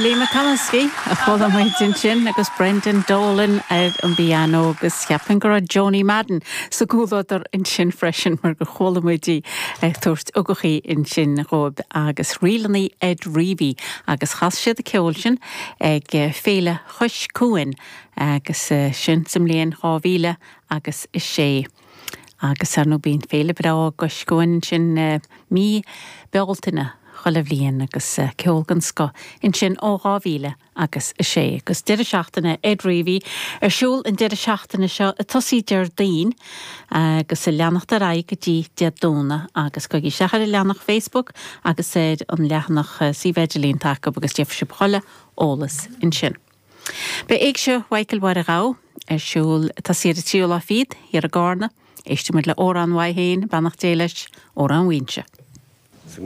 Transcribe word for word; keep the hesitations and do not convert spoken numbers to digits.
Billy McComiskey a chuala muid ansin agus Brendan Dolan ar an bpianó agus cheapfainn go raibh Joanie Madden sa gcomhluadar ansin freisin mar gur chuala muid í ag tabhairt ugachaí ansin dhóibh agus ríleanna Ed Reavy agus chas siad an ceol sin ag Féile Chois Cuain agus sin sa mbliain dhá mhíle agus a sé. Agus ar nó bíonn féile breá i gCois Cuain sin mí Bealtaine chuile bhliain agus ceol den scoth ansin ó dhá mhíle agus a sé. Agus deireadh seachtaine Ed Reavy ar siúl an deireadh seachtaine seo ag tosaí Déardaoin agus ag leanacht ar aghaidh go dtí Dé Domhnaigh agus gabhaigí isteach ar an leathanach Facebook agus ar an leathanach suíomh idirlín atá acu agus gheobhaidh sibh chuile eolas ansin. Beidh Éigse Mhichael Mháire Ghabha ar siúl tá siad a tríú lá fichead thiar i gCarna, Éistfidh muid le amhrán uaidh féin, beannacht Dé leis, Amhrán Mhaínse.